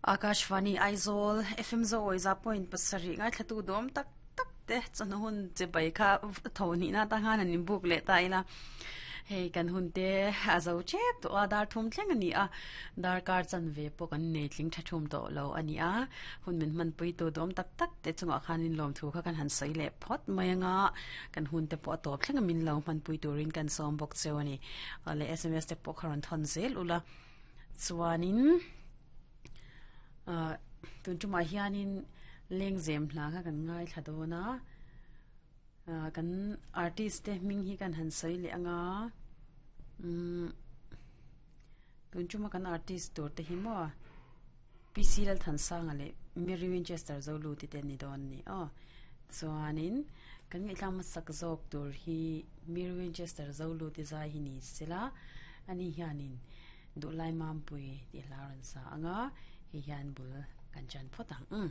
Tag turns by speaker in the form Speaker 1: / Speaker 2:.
Speaker 1: Akashvani Aizawl FM Zawi za point pasarih ngaithlatu dawm tak tak te chawhnu hun che bai kha tho nihna atang khan an inbuk leh ta ila hei kan hun te a zo tep tawh a dar thum thleng a ni a darkar chanve pawh kan nei tling tha thum tawh lo a ni a hun min hmanpui tu dawm tak tak te chungah khan inlawm thu kha kan han sawi leh phawt mai anga kan hun te pawh a tawp thleng a min lo hmanpui turin kan sawm bawk cheu a ni leh sms te pawh kha rawn thawn zel ula chuanin ah tun tumah hianin lengzem hla kha kan ngaithla dawn a ah kan artist te hming hi kan han sawi leh anga umm tun tuma kan artist tur te hi maw P C Lalthansanga leh Mary Winchester Zoluti te an ni dawn a ni aw chuanin kan ngaihthlak hmasak zawk tur hi Mary Winchester Zoluti zai hi ni sela ani hianin Duhlai Mampui tih hla a rawn sa ang a, hei hian bul kan chan phawt ang.